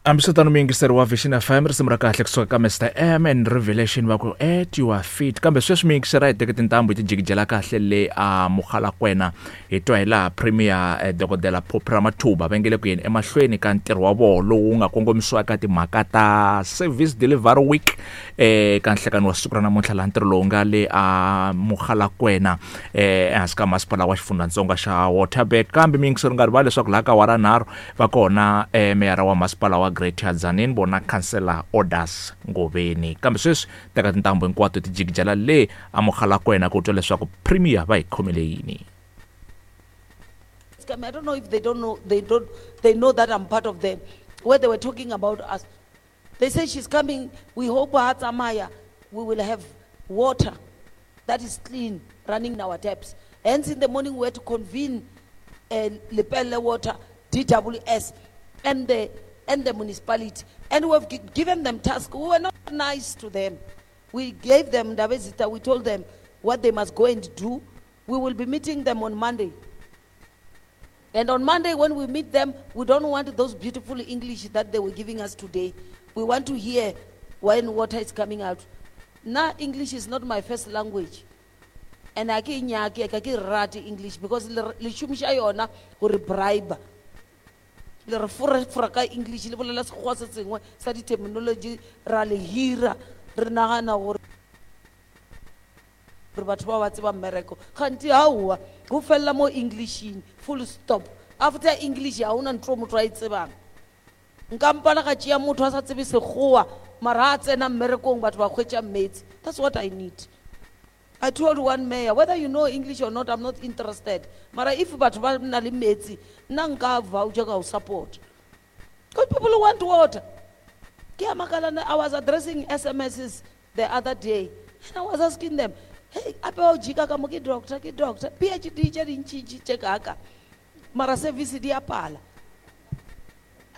Hambiswiritano muyingiseri wa Vision FM, risimu ra kahle kusuka ka Mr M and Revelation va ku "At Your Feet". Kambe sweswi muyingiseri a hi teke tintambu hi ti jikijela kahle le a Mogalakwena, hi twa hi laha Premier Dokodela Phophi Ramathuba va nge le ku yeni emahlweni ka ntirho wa vona lowu nga kongomisiwa eka timhaka ta Service Delivery Week eka nhlekani wa siku ra namuntlha, laha ntirho lowu nga le a Mogalakwena ehansi ka masipala wa xifundzhantsongo xa Waterberg. Kambe muyingiseri nga rivali leswaku laha ka awara nharhu va kona meyara wa masipala wa Greater Tzaneen vona Councillor Orders Ngoveni. Kambe sweswi teka tintambu hinkwato ti jikijela le a Mogalakwena ku twa leswaku Premier va hi khomele yini. I don't know if they don't know, they don't, they know that I'm part of them. Where they were talking about us. They say she's coming, we hope Hatsamaya, we will have water that is clean running in our taps. Hence in the morning we had to convene Lepelle Water, DWS, and the municipality. And we have given them tasks. We were not nice to them. We gave them, Ndabezita, we told them what they must go and do. We will be meeting them on Monday. And on Monday, when we meet them, we don't want those beautiful English that they were giving us today. We want to hear when water is coming out. Now, English is not my first language. And I ke nyake, ka ke rate English because le šomiša yona gore bribe. Le re fora ka English, le bolela sekgowa se sengwe sa di-terminology, ra le hira, re nagana gore batho ba ba tseba mmereko. Kganti aowa, go fella mo Englishing, full stop. After English, ha hona ntho motho a e tsebang. Nka mpana ka tšea motho a sa tsebe sekgowa, mara a tsena mmerekong batho ba hwetša metsi. That's what I need. I told one mayor, whether you know English or not, I'm not interested. Mara if batho ba na le metsi, nna nka voucher ka o support. Because people want water. Ke a makala na, I was addressing SMSs the other day, and I was asking them, hey, ape wa o jika ka mo ke doctor, ke doctor, PhD tše dintšintši tše kaka, mara service di a pala.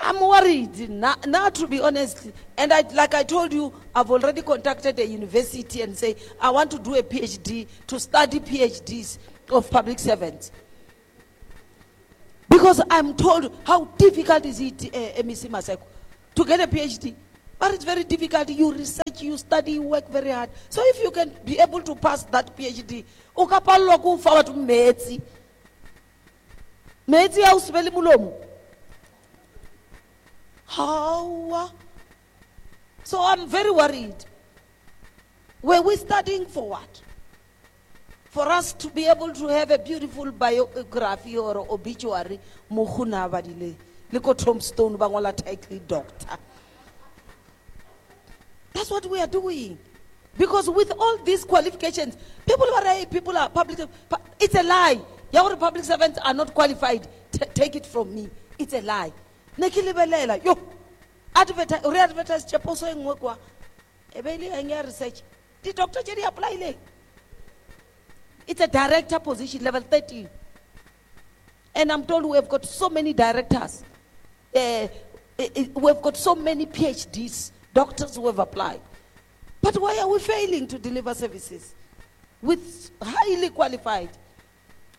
I'm worried now, now, to be honest. And like I told you, I've already contacted a university and say, I want to do a PhD, to study PhDs of public servants. Because I'm told how difficult is it, MEC Maseko, to get a PhD. But it's very difficult. You research, you study, you work very hard. So if you can be able to pass that PhD, o ka pallwa ke ho fa batho metsi. Metsi a o se be le molomo. How? So I'm very worried. Were we studying for what? For us to be able to have a beautiful biography or obituary, Mohuna badile, liko tombstone ba ngola title doctor. That's what we are doing. Because with all these qualifications, people are, hey, people are public. It's a lie. Your public servants are not qualified. Take it from me. It's a lie. Ne ke lebelela, yo, re-advertise tšeposo e nngwe kwa. E be e le eng ya research? Di-doctor tše di apply-ileng. It's a director position, level 13. And I'm told we have got so many directors. We have got so many PhDs, doctors who have applied. But why are we failing to deliver services with highly qualified?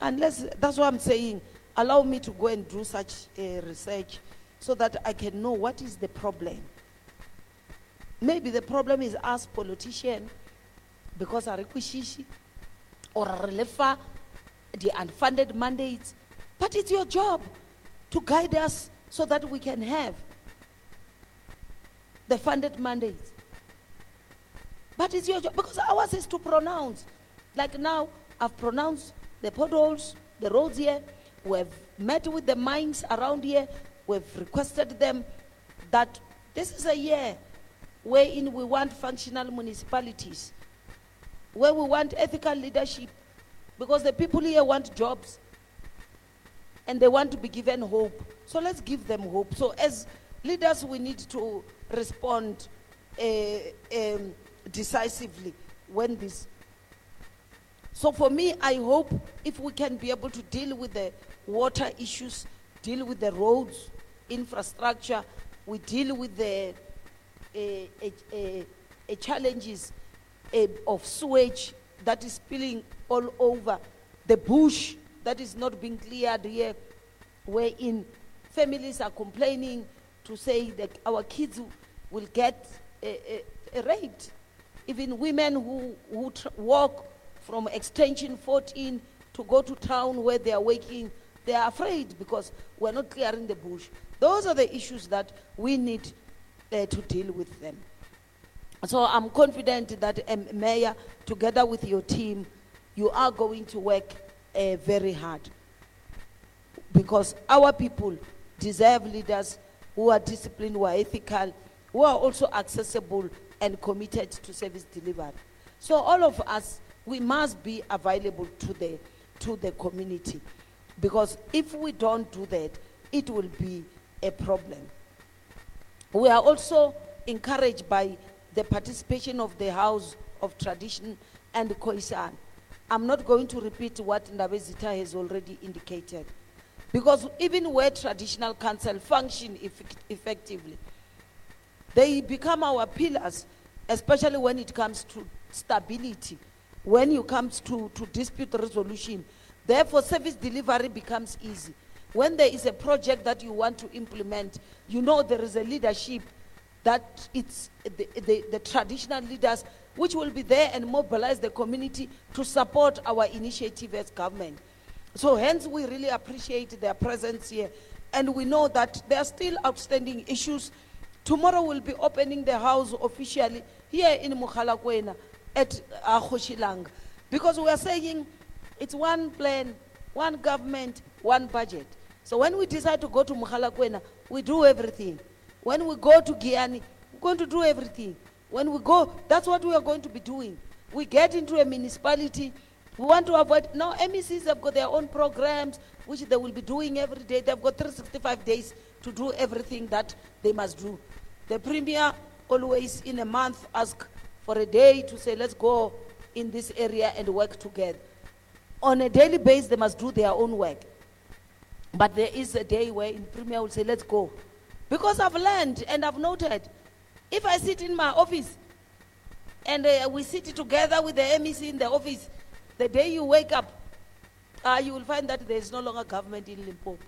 Unless, that's what I'm saying, allow me to go and do such research so that I can know what is the problem. Maybe the problem is us politicians, because our requisition or relefa the unfunded mandates. But it's your job to guide us so that we can have the funded mandates. But it's your job, because ours is to pronounce. Like now, I've pronounced the potholes, the roads here. We've met with the mines around here. We've requested them that this is a year wherein we want functional municipalities, where we want ethical leadership, because the people here want jobs and they want to be given hope. So let's give them hope. So as leaders, we need to respond decisively when this. So for me, I hope if we can be able to deal with the water issues, deal with the roads, infrastructure, we deal with the challenges of sewage that is spilling all over, the bush that is not being cleared here, wherein families are complaining to say that our kids will get raped. Even women who walk from extension 14 to go to town where they are working, they are afraid because we're not clearing the bush. Those are the issues that we need to deal with them. So I'm confident that, Mayor, together with your team, you are going to work very hard, because our people deserve leaders who are disciplined, who are ethical, who are also accessible and committed to service delivery. So all of us, we must be available to the community, because if we don't do that, it will be a problem. We are also encouraged by the participation of the House of Tradition and Khoisan. I'm not going to repeat what Ndabezitha has already indicated, because even where traditional council function effectively, they become our pillars, especially when it comes to stability, when it comes to dispute resolution. Therefore, service delivery becomes easy. When there is a project that you want to implement, you know there is a leadership that it's the traditional leaders which will be there and mobilize the community to support our initiative as government. So hence we really appreciate their presence here. And we know that there are still outstanding issues. Tomorrow we'll be opening the house officially here in Mogalakwena at Khoshilang, because we are saying it's one plan, one government, one budget. So when we decide to go to Mogalakwena, we do everything. When we go to Giyani, we're going to do everything. When we go, that's what we are going to be doing. We get into a municipality, we want to avoid, now MECs have got their own programs, which they will be doing every day. They've got 365 days to do everything that they must do. The Premier always in a month asks for a day to say, let's go in this area and work together. On a daily basis, they must do their own work. But there is a day where in Premier will say, let's go. Because I've learned and I've noted, if I sit in my office and we sit together with the MEC in the office, the day you wake up, you will find that there is no longer government in Limpopo.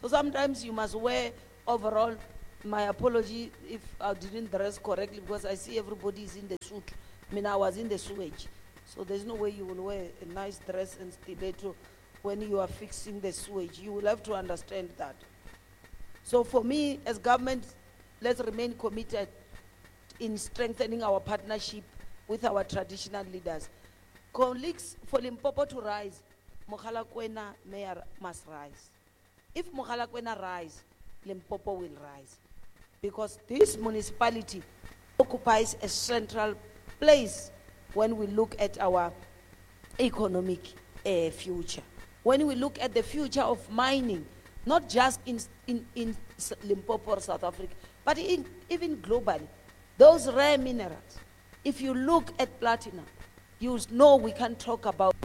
So sometimes you must wear overall. My apology if I didn't dress correctly, because I see everybody is in the suit. I was in the sewage. So there's no way you will wear a nice dress and stiletto when you are fixing the sewage. You will have to understand that. So for me, as government, let's remain committed in strengthening our partnership with our traditional leaders. Colleagues, for Limpopo to rise, Mogalakwena mayor must rise. If Mogalakwena rise, Limpopo will rise. Because this municipality occupies a central place when we look at our economic future. When we look at the future of mining, not just in Limpopo or South Africa, but even globally, those rare minerals. If you look at platinum, you know we can talk about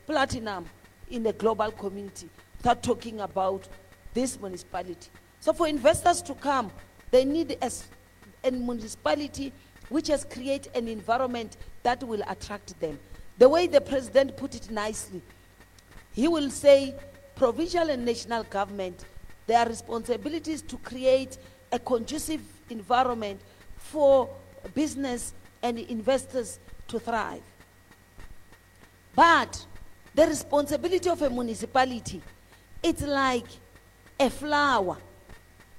platinum in the global community without talking about this municipality. So for investors to come, they need a municipality which has created an environment that will attract them. The way the president put it nicely, he will say provincial and national government, their responsibility is to create a conducive environment for business and investors to thrive. But the responsibility of a municipality, it's like a flower.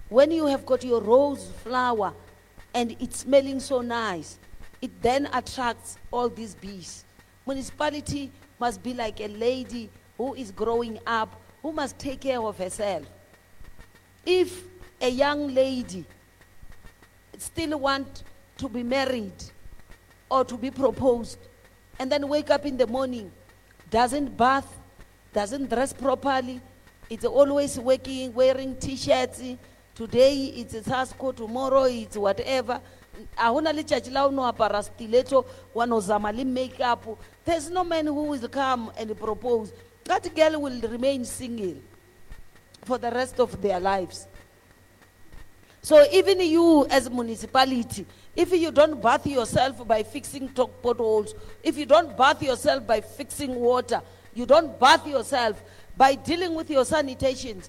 When you have got your rose flower and it's smelling so nice, it then attracts all these bees. Municipality must be like a lady who is growing up, who must take care of herself. If a young lady still wants to be married or to be proposed, and then wake up in the morning, doesn't bath, doesn't dress properly, it's always working, wearing t-shirts. Today it's a Sasco, tomorrow it's whatever. Ahona letšatši la o no apara stiletto, wa no zama le makeup. There's no man who will come and propose. That girl will remain single for the rest of their lives. So even you as municipality, if you don't bath yourself by fixing potholes, if you don't bath yourself by fixing water, you don't bath yourself by dealing with your sanitations,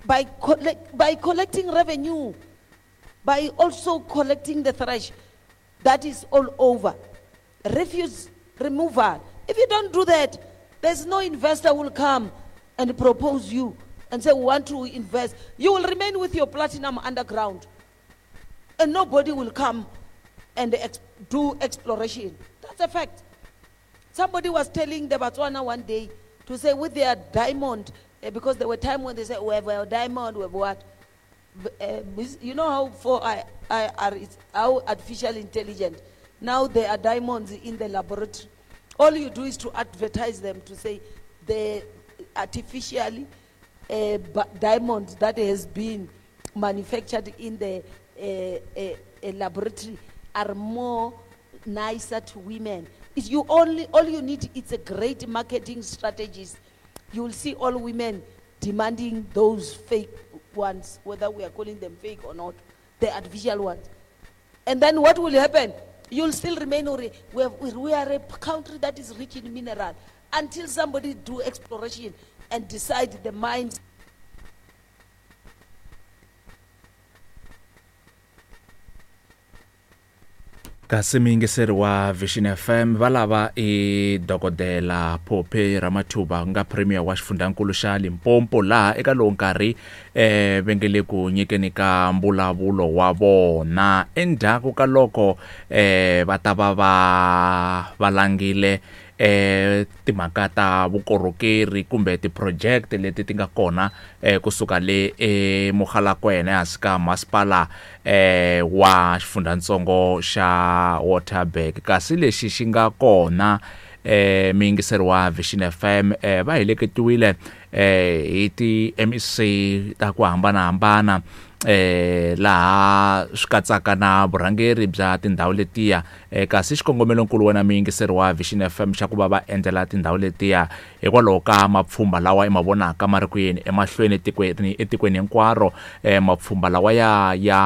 by collecting revenue. By also collecting the trash that is all over. Refuse removal. If you don't do that, there's no investor who will come and propose you and say, we want to invest. You will remain with your platinum underground. And nobody will come and do exploration. That's a fact. Somebody was telling the Botswana one day to say with their diamond, because there were times when they said, we have a diamond, we have what? You know how for I, I are it's how artificial intelligent. Now there are diamonds in the laboratory. All you do is to advertise them to say the artificially diamond that has been manufactured in the laboratory are more nicer to women. If you only, all you need is a great marketing strategist. You will see all women demanding those fake ones, whether we are calling them fake or not, the artificial ones. And then what will happen? You'll still remain, we are a country that is rich in mineral until somebody do exploration and decide the mines. Kasi muyingiseri wa Vision FM va lava i dokodela Phophi Ramathuba nga premier wa xifundzankulu xa Limpopo laha eka lowu nkarhi va nge le ku nyikeni ka mbulavulo wa vona endzhaku ka loko va ta va va valangile timhaka ta vukorhokeri kumbe ti-project leti ti nga kona kusuka le eMogalakwena ehansi ka masipala wa xifundzatsongo xa Waterberg. Kasi lexi xi nga kona muyingiseri wa Vision FM va heleketiwile hi ti-MEC ta ku hambanahambana laha swi katsaka na vurhangeri bya tindhawu letiya kasi xikongomelonkulu wena muyingiseri wa Vision FM xa ku va va endzela tindhawu letiya hikwalaho ka mapfhumba lawa i ma vonaka ma ri ku yeni emahlweni etikweni hinkwaro mapfhumba lawa ya ya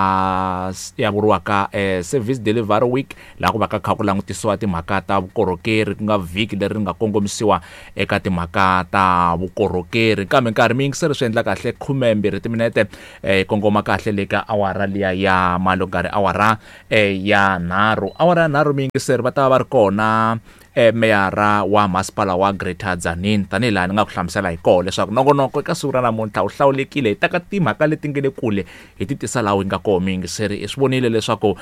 ya vuriwaka Service Delivery Week laha ku va ka kha ku langutisiwa timhaka ta vukorhokeri ku nga vhiki leri nga kongomisiwa eka timhaka ta vukorhokeri. Kambe nkarhi muyingiseri swi endla kahle 12 timinete kongoma kahle le ka awara liya ya malongari awara ya 3 awara ya 3 muyingiseri va ta va ri kona meyara wa masipala wa Greater Tzaneen tanihi laha ni nga ku hlamusela hi kona leswaku nongonoko eka siku ra namuntlha wu hlawulekile hi teka timhaka leti nge le kule hi ti tisa laha wu nga kona muyingiseri. I swi vonile leswaku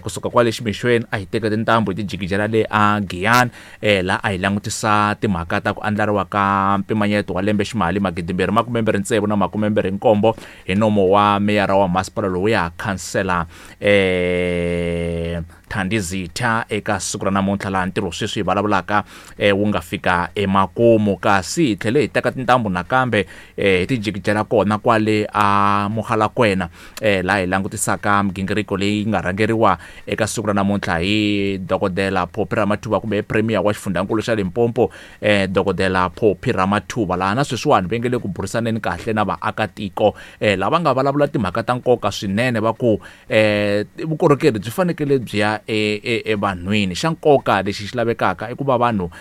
kusuka kwale ximixweni a hi teka tintambu hi ti jikijela le a Giyani laha a hi langutisa timhaka ta ku andlariwa ka mpimanyeto wa lembe ximali 2026 na 27 hi nomo wa meyara wa masipala lowuya khansela Thandi Zitha eka siku ra namuntlha laha ntirho sweswi hi vulavulaka wu nga fika emakumu. Kasi hi tlhele hi teka tintambu nakambe hi ti jikijela kona kwale a Mogalakwena laha hi langutisaka migingiriko leyi nga rhangeriwa eka siku ra namuntlha hi dokodela Phophi Ramathuba kumbe premier wa xifundzankulu xa Limpopo dokodela Phophi Ramathuba laha na sweswiwani va nge le ku burisaneni kahle na vaakatiko lava nga vulavula timhaka ta nkoka swinene va ku vukorhokeri byi fanekele byi ya evanhwini. Xa nkoka lexi xi lavekaka i ku va vanhu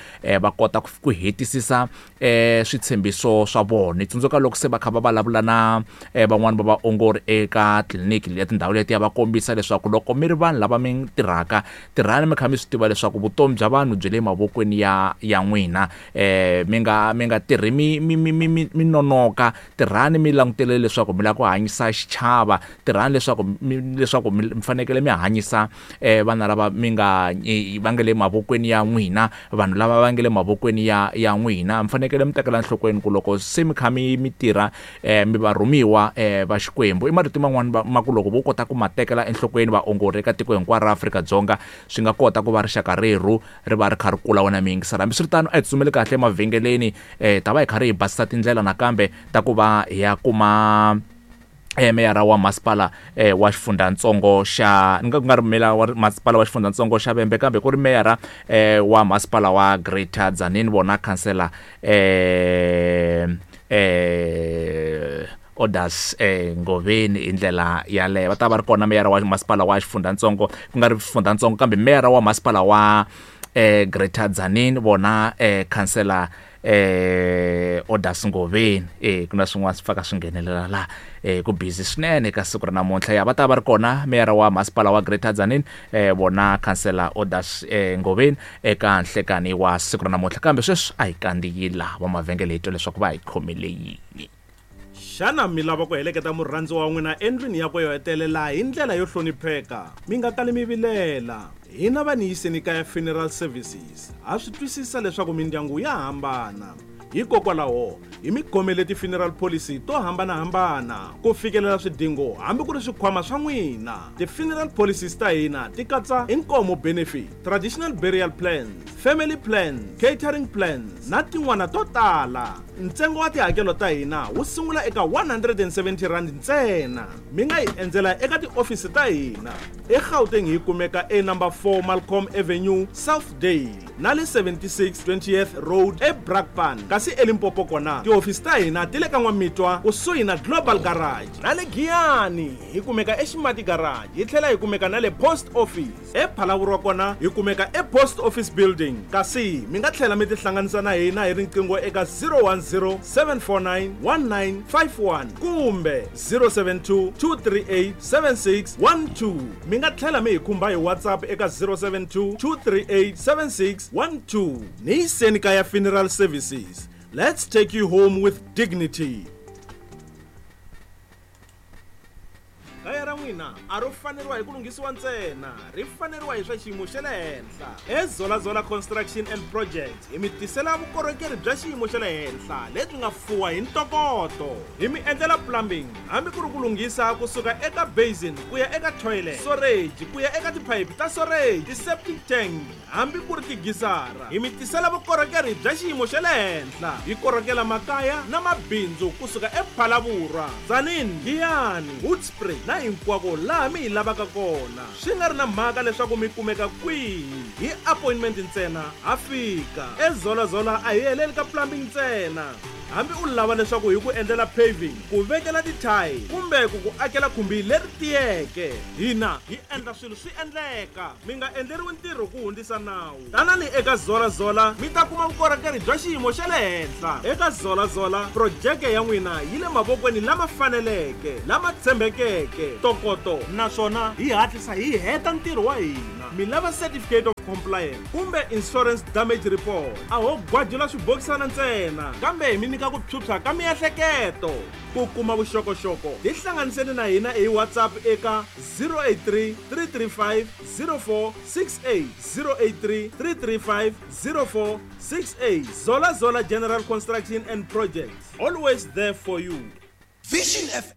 va kota ku hetisisa switshembiso swa vona. Tsundzuka loko se va kha va vulavula na van'wani va vaongori eka tliliniki ya tindhawu letiya va kombisa leswaku loko mi ri vanhu lava mi tirhaka tirhani mi kha mi swi tiva leswaku vutomi bya vanhu byi le mavokweni ya n'wina mi nga tirhi mi nonoka tirhani mi langutele leswaku mi lava ku hanyisa xichava tirhani leswaku mi fanekele mi hanyisa vana lava mi nga va nga le mavokweni ya n'wina vanhu lava va nga le mavokweni ya n'wina mi fanekele mi tekela enhlokweni ku loko se mi kha mi tirha mi va rhumiwa va Xikwembu. I marito man'wani ma ku loko vo kota ku ma tekela enhlokweni vaongori eka tiko hinkwaro ra Afrika-Dzonga swi nga kota ku va rixaka rerhu ri va ri kha ri kula wena miyingisela. Hambiswiritano a hi tsutsumeli kahle emavhengeleni ta va hi kha ri hi basisa tindlela nakambe ta ku va hi ya kuma meyara wa masipala wa xifundzatsongo xa ni nga ku nga ri meyara wa masipala wa xifundzatsongo xa Vhembe kambe ku ri meyara wa masipala wa Greater Tzaneen vona khansela Orders Ngoveni hi ndlela yaleyo. Va ta va ri kona meyara wa masipala wa xifundzatsongo ku nga ri xifundzatsongo kambe meyara wa masipala wa Greater Tzaneen vona khansela Odas Ngoveni ku na swin'wana swi faka swi nghenelela laha ku busy swinene eka siku ra namuntlha ya va ta va ri kona meyara wa masipala wa Greater Tzaneen vona khansela Odas Ngoveni eka nhlekani wa siku ra namuntlha kambe sweswi a hi kandziyi laha va mavhengele hi twa leswaku va hi khomele yini. Xana mi lava ku heleketa murhandziwa wa n'wina endlwini yakwe yo hetelela hi ndlela yo hlonipheka? Mi nga kali mi vilela. Hina va Niyiseni Kaya Funeral Services ha swi twisisa leswaku mindyangu ya hambana. Hikokwalaho, hi mi khomele ti-funeral policy to hambana-hambana ku fikelela swidingo hambi ku ri swikhwama swa n'wina. Ti-funeral policies ta hina ti katsa Inkomo Benefit, Traditional Burial Plans, Family Plans, Catering Plans na tin'wana to tala. Ntsengo wa tihakelo ta hina wu sungula eka R170 ntsena. Mi nga hi endzela eka tiofisi ta hina eGauteng hi kumeka e number 4 Malcolm Avenue, Southdale na le 76 20th Road eBrakpan. Kasi eLimpopo kona tihofisi ta hina ti le ka N'wamitwa kusuhi na Global Garage na le Giyani hi kumeka eXimati Garage hi tlhela hi kumeka na le Post Office. EPhalaborwa kona hi kumeka ePost Office Building kasi mi nga tlhela mi tihlanganisa na hina hi riqingho eka 010 749 1951 kumbe 072 238 7612. Mi nga tlhela mi hi khumba hi WhatsApp eka 072 238 7612. Ni yiseni kaya Funeral Services. Let's take you home with dignity. Kaya ra n'wina a ro faneriwa hi ku lunghisiwa ntsena, ri faneriwa hi swa xiyimo xa le henhla. EZolazola Construction and Projects hi mi tisela vukorhokeri bya xiyimo xa le henhla lebyi nga fuwa hi ntokoto. Hi mi endlela plumbing hambi ku ri ku lunghisa kusuka eka basin ku ya eka toilet, storage ku ya eka tiphayiphi ta storage, ti-septic tank hambi ku ri tigisara. Hi mi tisela vukorhokeri bya xiyimo xa le henhla. Hi korhokela makaya na mabindzu kusuka ePhalaborwa, Tzaneen, Giyani, Hoedspruit na hinkwako laha mi hi lavaka kona. Swi nga ri na mhaka leswaku mi kumeka kwihi, hi appointment ntsena ha fika. EZolazola a hi heleli ka plumbing ntsena. Hambi u lava leswaku hi ku endlela paving, ku vekela ti-tile kumbe ku ku akela khumbi leri tiyeke, hina hi endla swilo swi endleka. Mi nga endleriwi ntirho ku hundzisa nawu. Tanani eka Zola Zola mi ta kuma vukorhokeri bya xiyimo xa le henhla. Eka Zola Zola, projeke ya n'wina yi le mavokweni lama faneleke, lama tshembekeke, ntokoto naswona hi hatlisa hi heta ntirho wa hina. Mi lava certificate of compliance kumbe insurance damage report, a ho gwajula swibokisana ntsena kambe hi mi nyika ku phyuphya ka miehleketo. Ku kuma vuxokoxoko, tihlanganiseni na hina hi WhatsApp eka 083 335 0468, 083 335 0468. Zola Zola General Construction and Projects, always there for you. Vision FM.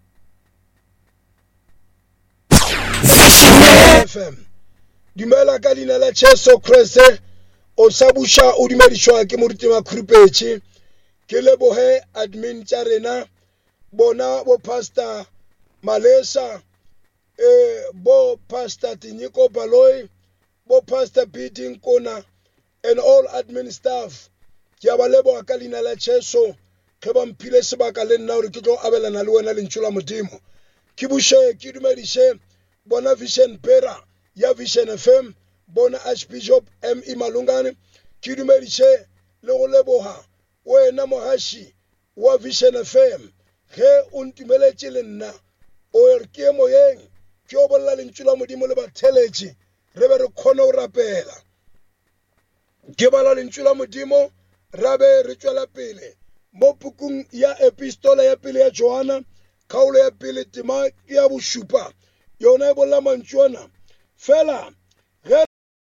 FM. Dumela ka leina la Jesu Kriste. O sa buša o dumedišwa ke moruti Makhurupetše. Ke leboge admin tša rena bona bo Pastor Malesa, bo Pastor Tinyiko Baloyi, bo Pastor BD Nkona and all admin staff. Ke a ba leboga ka leina la Jesu ge ba mphile sebaka le nna gore ke tlo abelana le wena lentšu la Modimo. Ke buše ke dumediše bona Vision Pera ya Vision FM, bona Archbishop M.E. Malungane. Ke dumediše le go leboga wena mogaši wa Vision FM ge o ntumeletše le nna o re ke ye moyeng ke yo bolela lentšu la Modimo le batheletši re be re kgone go rapela. Ke bala lentšu la Modimo ra be re tšwela pele mo pukung ya Epistola ya pele ya Johana, kgaolo ya pele tema ya bošupa. Yona e bolela mantšu ana fela.